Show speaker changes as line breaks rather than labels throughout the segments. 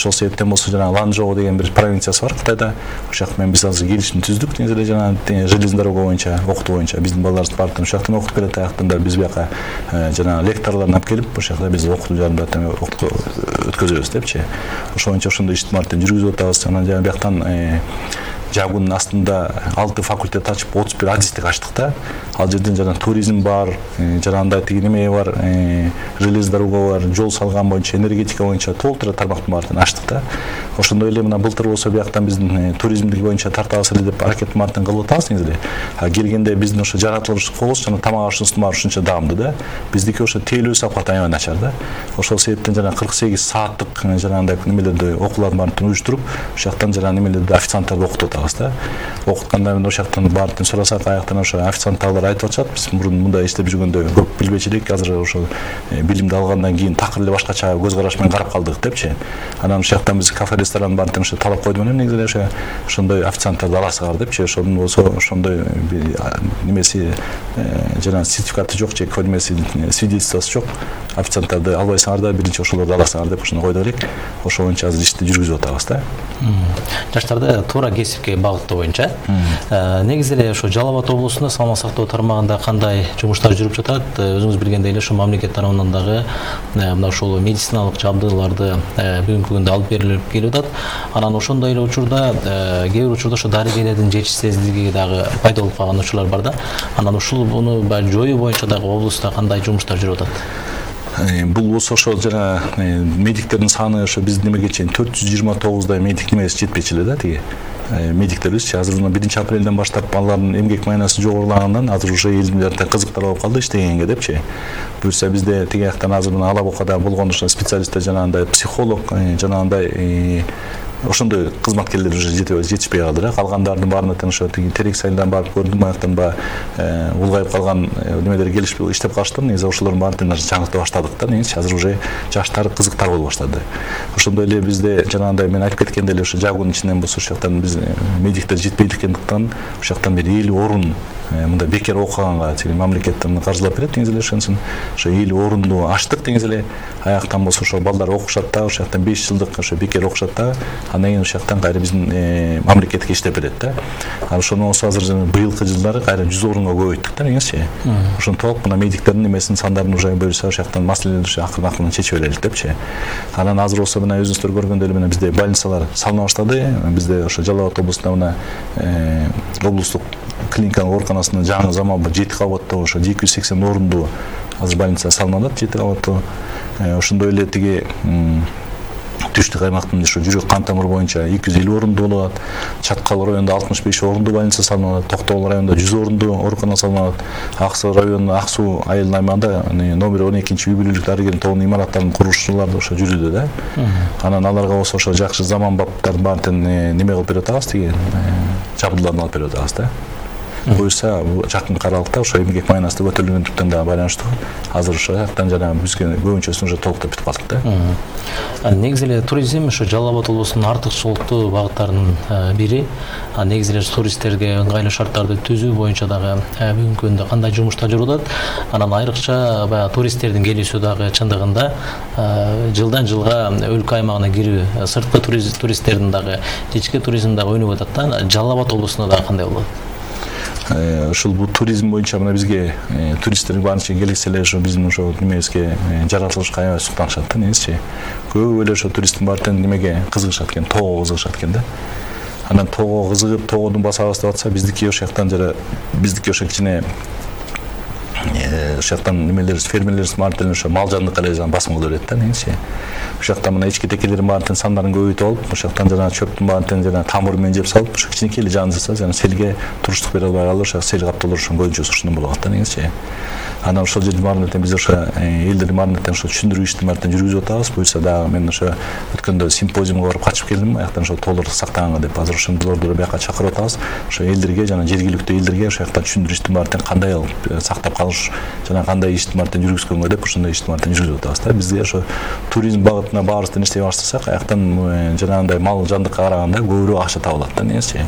ошол себептен болсо жана Ланчжоу деген бир провинциясы бар Кытайда. Ошол жак менен биз азыр келишим түздүк. Негизи эле жана железный дорога боюнча, окутуу боюнча биздин балдарыбыз баардыгы ошол жактан окутуп келет. Аяктан да биз бияка жана лекторлорун алып келип, ошол жакта биз окутуу жарымдатан өткөзөбүз депчи. Ошол боюнча ошондой иштимааттын жүргүзүп атабыз. Анан жана бияктан Жагунун астында 6 факультет ачып 31 адистик ачтык да. Ал жерден жана туризм бар, жана андай тиги неме бар, железный дорога бар, жол салган боюнча, энергетика боюнча толтура тармактын баарын ачтык да. Ошондой эле мына былтыр болсо бияктан биздин туризмдик боюнча тартабыз эле деп аракет мартын кылып атабыз негизи эле. Келгенде биздин ошо жаратылыш колубуз жана тамак ашуусунун баары ушунча даамдуу да. Биздики ошо тейлөө сапат аябай начар да. Ошол себептен жана 48 сааттык жанагындай немелерди окуулардын баарын уюштуруп, ошол жактан жана немелерди официанттарды окутуп атабыз да. Окутканда мен ошол жактан баарын сурасак, аяктан ошо официанттар айтып атышат. Биз мурун мындай иштеп жүргөндө көп билбечү элек, азыр ошо билимди алгандан кийин такыр эле башкача көз караш менен карап калдык депчи. Анан ошол жактан биз кафе ресторан баарын ошо талап койдум элем негизи эле ошондой официанттарды аласыңар депчи. Ошондон болсо ошондой немеси жана сертификаты жок же немеси свидетельствосу жок официанттарды албайсыңар да, биринчи ошолорду аласыңар деп ошону койдук элек. Ошол боюнча азыр ишти жүргүзүп атабыз да.
Жаштарды туура кесипке багыттоо боюнча негизи эле ошо Жалал Абад облусунда саламат сактоо тармагында кандай жумуштар жүрүп жатат? Өзүңүз билгендей эле ошо мамлекет тарабынан дагы мына ошол медициналык жабдууларды бүгүнкү күндө алып берилип келип атат. Анан ошондой эле учурда кээ бир учурда ошо дарыгерлердин жетишсиздиги дагы пайда болуп калган учурлар бар да. Анан ушул буну жоюу боюнча дагы облуста кандай жумуштар жүрүп атат?
Бул болсо ошо жана медиктердин саны ошо биздин немеге чейин 429 медик немеси жетпечү эле да тиги медиктерибизчи. Азыр 1 апрелден баштап алардын эмгек маянасы жогорулагандан азыр уже элдин кызыктар болуп калды иштегенге депчи. Буюрса бизде тиги жактан азыр мына Ала Букада болгон ошо специалисттер жанагындай психолог жанагындай ошондой кызматкерлер уже жетишпей калды да. Калгандардын баарына тең ошо тиги терек сайынан барып көрдүм, аяктан улгайып калган немелер келишип иштеп калыштыр. Негизи ошолордун баарын жаңырта баштадык да. Негизи азыр уже жаштар кызыктар боло баштады. Ошондой эле бизде жанагындай мен айтып кеткендей эле ошо Жагунун ичинен болсо ошол жактан биз медиктер жетпейдикендиктен ошол жактан бери 50 орун мындай бекер окуганга тиги мамлекеттен каржылап берет. Негизи эле ошонусун ошо 50 орунду ачтык негизи эле. Аяктан болсо ошо балдар окушат да, ошол жактан 5 жылдык ошо бекер окушат да. Андан кийин ошол жактан кайра биздин мамлекетке иштеп берет да. Ошону болсо азыр быйылкы жылдары кайра 100 орунга көбөйттүк да негизи. Ошентип мына медиктердин немесинин сандарын уже буюрса ошол жактан маселелерди акырын чечип берелик депчи. Анан азыр болсо мына өзүңүздөр көргөндөй эле мына бизде больницалар салына баштады. Бизде ошо Жалал Абад облусунда мына облустук клиниканын ооруканасында жаңы заманбап 7 кабаттуу ошо 280 орунду азыр больница салынат 7 кабаттуу. Ошондой эле тиги Түштүк аймактын ошо жүрөк кан тамыр боюнча 250 орунду болот. Чаткал районунда 65 орунду больница салынат, Токтогул районунда 100 орунду оорукана салынат. Аксу районунун Аксу айылдын аймагында номер 12 үй бүлөлүк дарыгердин тобунун имараттарын курушчулар ошо жүрүүдө да. Анан аларга болсо ошо жакшы заманбаптардын баарын неме кылып берип атабыз, тиги жабдууларды алып берип атабыз да. Буюрса жакын аралыкта ошо эмгек маянасы көтөрүлгөндүктөн да байланыштуу азыр ошол жактан жана бизге көбүнчөсүн уже толуктап бүтүп калдык да.
Негизи эле туризм ошо Жалал Абад облусунун артыкчылыктуу багыттарынын бири. Негизи эле туристтерге ыңгайлуу шарттарды түзүү боюнча дагы бүгүнкү күндө кандай жумуштар жүрүп атат? Анан айрыкча баягы туристтердин келүүсү дагы чындыгында жылдан жылга өлкө аймагына кирүү, сырткы туристтердин дагы ички туризм дагы өнүгүп атат да. Жалал Абад облусунда дагы кандай болот?
Ушул бул туризм боюнча мына бизге туристтердин баарынча келсе эле ошо биздин ошо немебизге жаратылышка аябай суктанышат да негизичи. Көп эле ошо туристтин баары тең немеге кызыгышат экен, тоого кызыгышат экен да. Анан тоого кызыгып, тоогодун басабыз деп атса, биздики ошол жактан жана биздики ошо кичине ошол жактан немелер фермерлерибиз баары тең ошо мал жандыкка эле басым кыла берет да негизичи. Ошол жактан мына ички текелердин баары тең сандарын көбөйтүп алып, ошол жактан жана чөптүн баарын тең жана тамыр менен жеп салып, ошо кичинекей эле жандырса, жана селге туруштук бере албай калып, ошо сел каптоолор ошо көбүнчөсү ушундан болуп атат да негизичи. Анан ошол жердин баарына тең биз ошо элдердин баарына тең ошо түшүндүрүү иштин баарын тең жүргүзүп атабыз. Буюрса дагы мен ошо өткөндө симпозиумга барып катышып келдим, аяктан ошо тоолорду сактаганга деп азыр ошондолорду бияка чакырып атабыз. Ошо элдерге жана жергиликтүү элдерге ошол жактан түшүндүрүү иштин баарын тең кандай кылып сактап калыш жана кандай иштин баарын тең жүргүзгөнгө деп ошондой иштин баарын тең жүргүзүп атабыз да. Бизде ошо туризм багытына баарыбыз тең иштей баштасак, аяктан жанагындай мал жандыкка караганда көбүрөөк акча табылат да негизичи.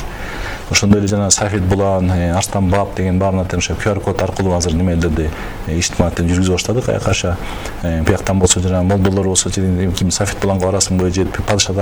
Ошондой эле жана Сафет Булан, Арстан Баб деген баарына тең ошо QR код аркылуу азыр немелерди иштин баарын тең жүргүзүп баштадык. Аяка бияктан болсо жана молдолор болсо ким Сафет Буланга барасыңбы же падыша